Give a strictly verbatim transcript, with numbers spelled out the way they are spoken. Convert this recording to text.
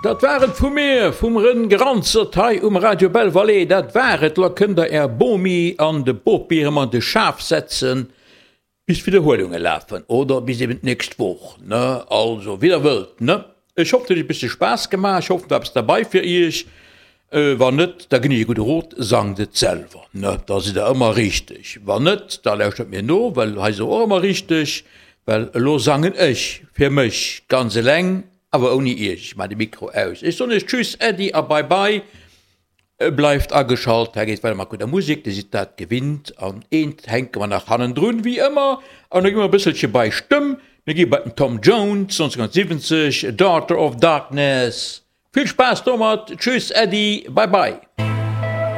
Dat war et vu mir, vum Rën Granzert hei um Radio Belval. Dat war et. Lo kënnt der är Bomi an de Bopi erëm an de Schaf setzen, bis d'Widderhuelunge lafen oder bis eben d'nächst Woch, ne? Also, wéi der wëllt, ne? Ech hoffen, et huet iech e bësse Spaass gemaach. Ech hoffen, et war eppes derbei fir iech. Wann net, da ginn ech e gudde Rot, Sangt et selwer, ne, da sidd der ëmmer richteg. Wann net, da lauschtert mir no, well hei si och ëmmer richteg, well elo sangen ech fir mech ganz eleng, awer ouni iech. Ech maachen de Mikro aus. Ech soen iech Tschüss, Äddi a Bye Bye. Bleift ageschalt, hei geet weider mat gudder Musek, dir sidd dat gewinnt. An eent hänke mer nach hannendrun, wéi ëmmer, an da gi mer e bësselche bei Stëmm. Mir gi bei den Tom Jones, nonzénhunnertsiwwenzeg, Daughter of Darkness. Vill Spaass domat, tschüss, Äddi, bye bye.